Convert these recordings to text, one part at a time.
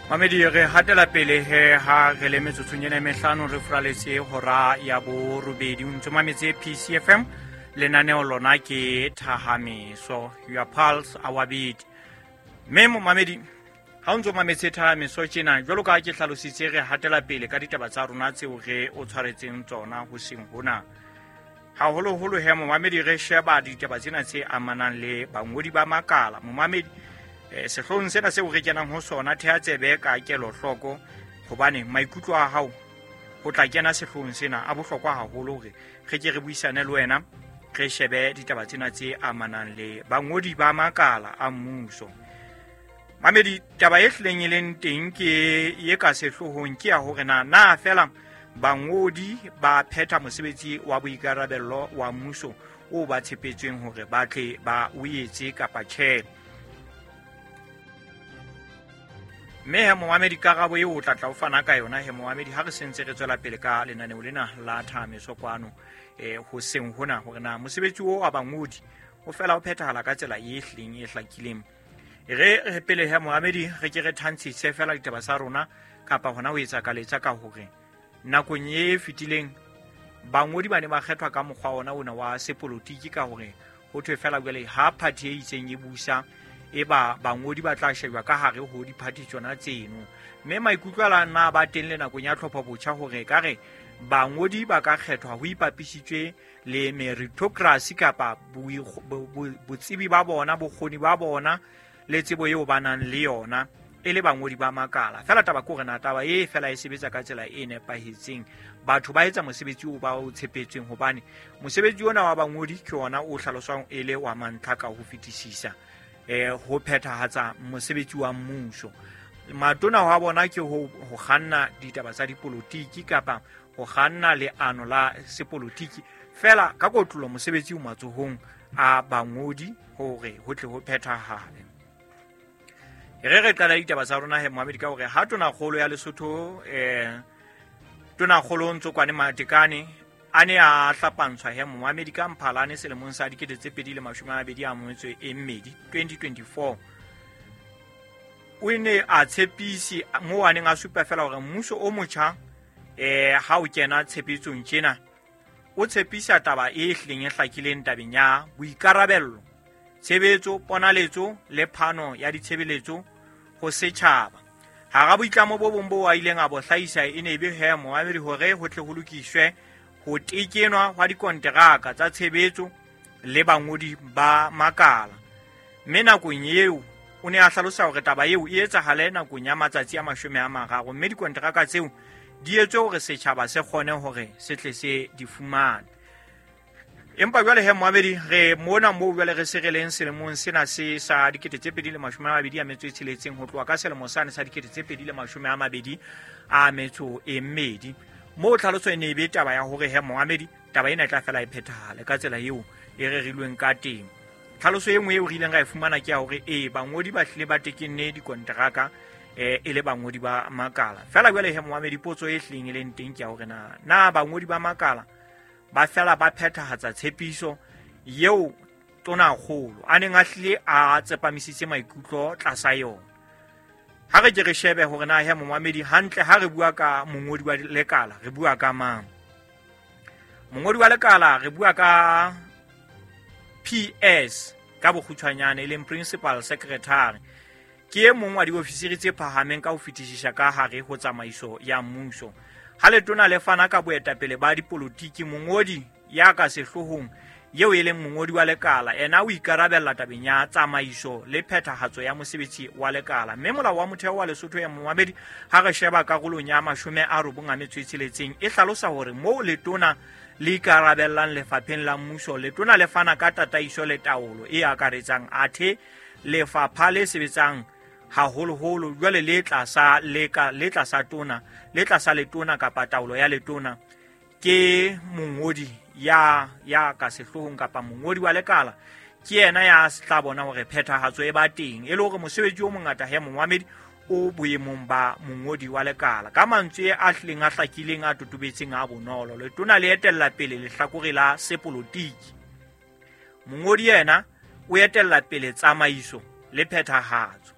Mamedi, re hatela pele he ha re le metsotsong ena e mehlano re furaletse hora ya borobedi. O ntse mametse PCFM, lenaneo lona ke Thahameso, your pulse our beat. Mme momamedi, ha o ntse o mametse Thahameso tjena, jwalo ka ha ke hlalositse, re hatela pele ka ditaba tsa rona tseo re o tshwaretseng tsona hoseng hona. Haholoholo he momamedi, re sheba ditaba tsena tse amanang le bangodi ba makala. Momamedi, sehloohong sena seo re kenang ho sona, theha tsebe ka kelohloko, hobane maikutlo a hao ho tla kena sehloohong sena a bohlokwa haholo hore re ke re buisane le wena, re shebe ditaba tsena tse amanang le bangodi ba makala a mmuso. Mamedi, taba e hlileng e leng teng ke ye ka sehloohong ke ya hore na fela bangodi ba phetha mosebetsi wa boikarabello wa mmuso o ba tshepetsweng hore ba tle ba o etse kapa tjhe. Mme he momamedi, karabo eo o tla tla o fana ka yona he momamedi, ha re sentse re tswela pele ka lenaneo lena la Thahameso kwano hoseng hona, hore na mosebetsi o wa bangodi o fela o phethahala ka tsela e hlileng e hlakileng. Re pele he momamedi, re ke re thantshise fela ditaba tsa rona kapa hona ho etsa kaletsa ka hore nakong e fetileng bangodi ba ne ba kgethwa ka mokgwa ona wa sepolotiki, ka hore ho thwe fela jwale ha party e itseng e busa, e ba bangodi ba tla shejwa ka hare ho diphathi tsona tseno. Mme maikutlo a la nna ba teng le nakong ya tlhopho botjha hore ka re bangodi ba ka kgethwa ho ipapisitswe le meritocracy kapa botsebi ba bona, bokgoni ba bona le tsebo eo ba nang le yona e le bangodi ba makala. Fela taba ke hore na taba e fela e sebetsa ka tsela e nepahetseng, batho ba etsa mosebetsi o ba o tshepetsweng, hobane mosebetsi ona wa bangodi ke ona o hlaloswang e le wa mantlha ka ho fetisisa ho phethahatsa mosebetsi wa mmuso. Matona wa bona ke ho kganna ditaba tsa dipolotiki kapa ho kganna leano la sepolotiki, fela ka kotlolo mosebetsi o matsohong a bangodi hore ho tle ho phethahale. Re qala ditaba tsa rona he momamedi ka hore ha tonakgolo ya Lesotho tonakgolo Ntsokoane Matekane a ne a hlapantshwa he momamedi ka Mphalane selemong sa 2022, 2024, o ne a tshepise moo a neng a supa fela hore mmuso o motjha ha o kena tshepetsong tjena o tshepisa taba e hlileng e hlakileng tabeng ya boikarabello, tshebetso, ponaletso le phano ya ditshebeletso ho setjhaba. Hara boitlamo bo bong bo a ileng a bo hlahisa e ne be he momamedi hore ho tle ho lokiswe ho tekenwa hwa dikonteraka tsa tshebetso le bangodi ba makala. Mme nakong eo o ne a hlalosa hore taba eo e etsahale nakong ya matsatsi a 30, mme dikonteraka tseo di etswe hore setjhaba se kgone hore se tle se di fumane. Empa jwale he momamedi, re mona moo jwale re se re leng selemong sena se sa 2026, ho tloha ka selemo sane sa 2022, moo tlhaloso e ne e be taba ya hore he momamedi taba ena e tla fela e phethahale ka tsela eo e rerilweng ka teng. Tlhaloso e nngwe eo re ileng ra e fumana ke ya hore bangodi ba hlile ba tekenne dikonteraka e le bangodi ba makala. Fela jwale he momamedi, potso e hlileng e leng teng ke ya hore na bangodi ba makala ba fela ba phethahatsa tshepiso eo tonakgolo a neng a hlile a tsepamisitse maikutlo tlasa yona. Ha re ke re shebe hore na he momamedi hantle ha re bua ka mongodi wa lekala re bua ka mang. Mongodi wa lekala re bua ka PS ka bokgutshwanyane, e leng Principal Secretary, ke e mong wa diofisiri tse phahameng ka ho fetisisa ka hare ho tsamaiso ya mmuso. Ha letona le fana ka boetapele ba dipolotiki, mongodi ya ka sehloohong eo e leng mongodi wa lekala ena o ikarabella tabeng ya tsamaiso le phethahatso ya mosebetsi wa lekala. Mme molao wa motheo wa Lesotho ya momamedi, ha re sheba karolong ya 96, e hlalosa hore moo letona le ikarabellang lefapheng la mmuso, letona le fana ka tataiso le taolo e akaretsang, athe lefapha le sebetsang haholoholo jwale le tlasa le tlasa tona, le tlasa letona kapa taolo ya letona, ke mongodi ya ka sehloohong kapa mongodi wa lekala ke yena ya tla bona hore phethahatso e ba teng, e le hore mosebetsi o mongata he momamedi o boemong ba mongodi wa lekala. Ka mantswe a hlileng a hlakileng a totobetseng a bonolo, letona le etella pele lehlakore la sepolotiki, mongodi yena o etella pele tsamaiso le phethahatso.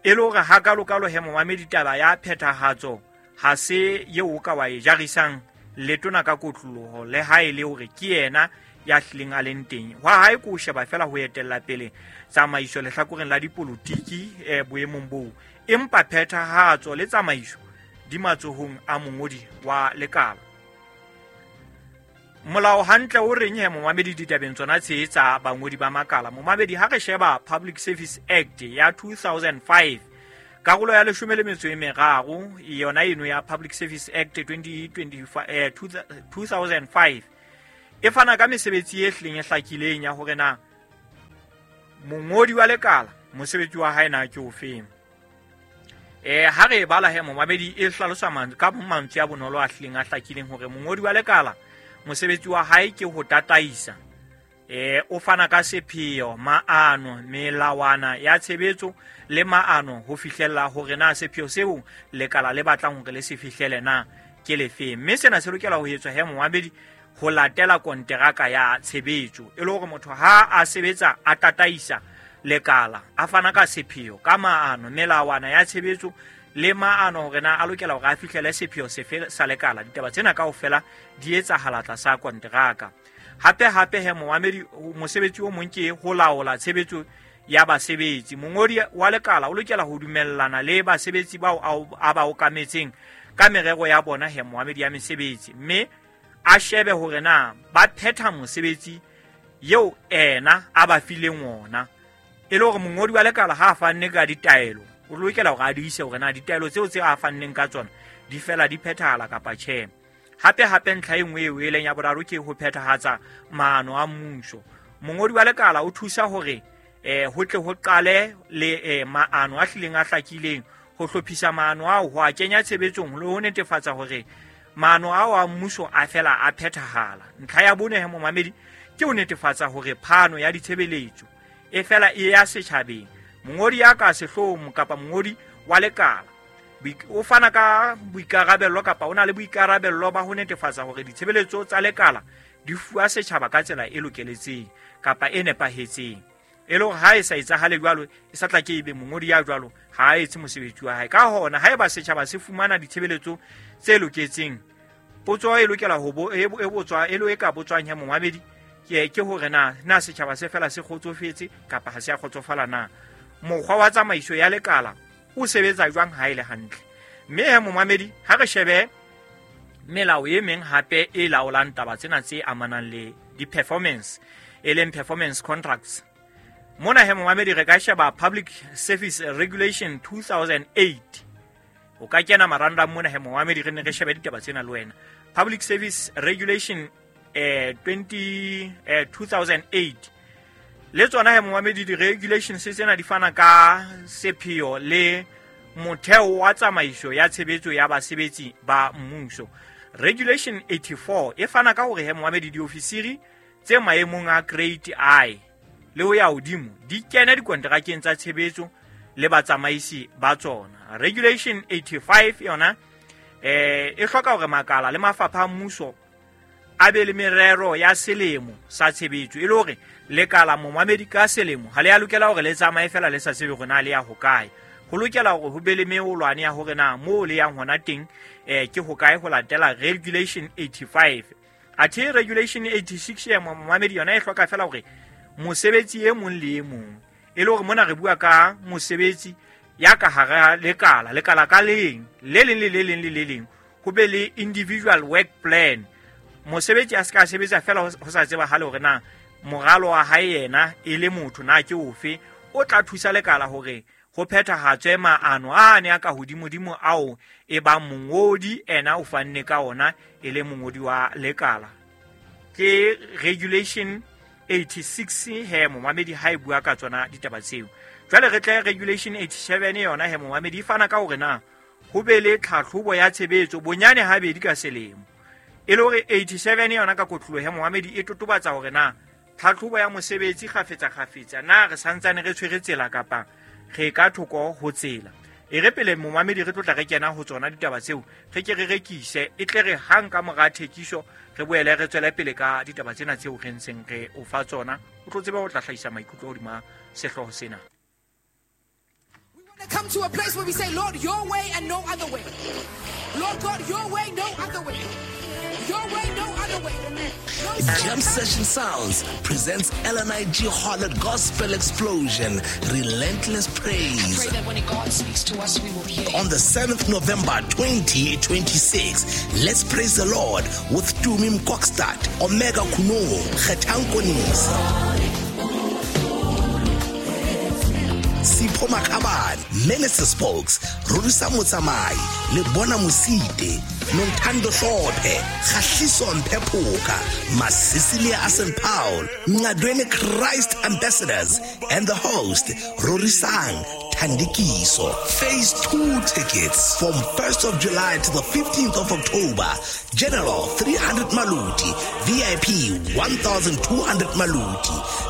E le hore hakalokalo he momamedi, taba ya phethahatso ha se eo o ka wa e jarisang letona ka kotloloho, le ha e le hore ke yena ya hlileng a leng teng. Hwa hae ke ho sheba fela ho etella pele tsamaiso lehlakoreng la dipolotiki boemong boo, empa phethahatso le tsamaiso di matsohong a mongodi wa lekala. Molao hantle o reng he momamedi ditabeng tsona tse tsa bangodi ba makala? Momamedi, ha re sheba Public Service Act ya 2005 karolo ya 13, yona eno ya Public Service Act 2025, 2005 e fana ka mesebetsi e hlileng e hlakileng ya hore na mongodi wa lekala mosebetsi wa hae na ke ofeng. Ha re e bala he momamedi, e hlalosa ka mantswe a bonolo a hlileng a hlakileng hore mongodi wa lekala mosebetsi wa hae ke ho tataisa, o fana ka sepheo, maano, melawana ya tshebetso le maano ho fihlella hore na sepheo seo lekala le batlang hore le se fihlele na ke lefeng. Mme sena se lokela ho etswa he momamedi ho latela konteraka ya tshebetso, e le hore motho ha a sebetsa a tataisa lekala, a fana ka sepheo, ka maano, melawana ya tshebetso le maano hore na a lokela hore a fihlele sepheo sefe sa lekala. Ditaba tsena kaofela di etsahala tlasa konteraka. Hape hape he momamedi, mosebetsi o mong ke ho laola tshebetso ya basebetsi. Mongodi wa lekala o lokela ho dumellana le basebetsi bao a ba okametseng ka merero ya bona he momamedi ya mesebetsi, mme a shebe hore na ba phetha mosebetsi eo ena a ba fileng ona. E le hore mongodi wa lekala ha a fanne ka ditaelo, o lokela hore a di ise hore na ditaelo tseo tse a fanneng ka tsona di fela di phethahala kapa tjhe. Hape hape ntlha e nngwe eo e leng ya boraro ke ho phethahatsa maano a mmuso. Mongodi wa lekala o thusa hore ho tle ho qale le maano a hlileng a hlakileng, ho hlophisa maano ao, ho a kenya tshebetsong le ho netefatsa hore maano ao a mmuso a fela a phethahala. Ntlha ya bone he momamedi ke ho netefatsa hore phano ya ditshebeletso e fela e ya setjhabeng. Mongodi ya ka sehloohong kapa mongodi wa lekala o fana ka boikarabello kapa o na le boikarabello ba ho netefatsa hore ditshebeletso tsa lekala di fuwa setjhaba ka tsela e lokeletseng kapa e nepahetseng. E le hore ha e sa etsahale jwalo, e sa tla ke ebe mongodi ya jwalo ha a etse mosebetsi wa hae. Ka hona haeba setjhaba se fumana ditshebeletso tse loketseng, potso e lokela ho bo e botswa e lo e ka botswang ya momamedi ke hore na setjhaba se fela se kgotsofetse kapa ha se a kgotsofala na. Mokgwa wa tsamaiso ya lekala o sebetsa jwang ha e le hantle? Mme he momamedi, ha re shebe melao e meng hape e laolang taba tsena tse amanang le di-performance, e leng performance contracts. Mona he momamedi re ka sheba Public Service Regulation 2008. O ka kena marangrang mona he momamedi, re ne re shebe ditaba tsena le wena. Public Service Regulation 2008 le tsona he momamedi, di-regulations tsena di fana ka sepheo le motheo wa tsamaiso ya tshebetso ya basebetsi ba mmuso. Regulation 84 e fana ka hore he momamedi diofisiri tse maemong a grade I le ho ya hodimo di kene dikonterakeng tsa tshebetso le batsamaisi ba tsona. Regulation 85 yona e hloka hore makala le mafapha a mmuso a be le merero ya selemo sa tshebetso, e le hore lekala momamedi ka selemo ha le ya lokela hore le tsamaye fela le sa tsebe hore na le ya hokae. Ho lokela hore ho be le meolwane ya hore na moo le yang hona teng ke hokae ho latela Regulation 85. Athe Regulation 86 ya momamedi yona e hloka fela hore mosebetsi e mong le e mong, e le hore mona re bua ka mosebetsi ya ka hara lekala, lekala ka leng, le leng le le leng le le leng, ho be le individual work plan. Mosebetsi a se ka sebetsa fela ho sa tsebahale hore na moralo wa hae yena e le motho na ke ofe, o tla thusa lekala hore ho phethahatswe maano a ne a ka hodimodimo ao e bang mongodi ena o fanne ka ona e le mongodi wa lekala. Ke Regulation 86 he momamedi ha e bua ka tsona ditaba tseo. Jwale re tle Regulation 87 yona he momamedi e fana ka hore na ho be le tlhatlhobo ya tshebetso bonyane habedi ka selemo. E le hore 87 yona ka kotloloho he momamedi e totobatsa hore na tlhatlhobo ya mosebetsi kgafetsa kgafetsa na re santsane re tshwere tsela kapa re ka thoko ho tsela. E re pele momamedi re tlotla re kena ho tsona ditaba tseo, re ke re rekise, e tle re hang ka mora thekiso re boele re tswele pele ka ditaba tsena tseo re ntseng re o fa tsona. O tlo tsebe ho tla hlahisa maikutlo hodima sehlooho sena. Come to a place where we say, Lord, your way and no other way. Lord God, your way, no other way. Your way, no other way. No. Jam Session Sounds presents LNIG Harlot Gospel Explosion, Relentless Praise. Pray that when God speaks to us, we will hear. On the 7th November 2026, let's praise the Lord with Tumi Mkokstad, Omega Kuno, Kgetang Konisi, Sipho Makhabane, Minister Spokes, Rorisa Motsamai, Lebona Mosite, Nontando Hlophe, Kgahliso Mpephoka, Masisilia Asen Paul, Ngadweni Christ Ambassadors, and the host, Rorisang Thandikiso. Phase 2 tickets from 1st of July to the 15th of October. General 300 Maluti, VIP 1200 Maluti.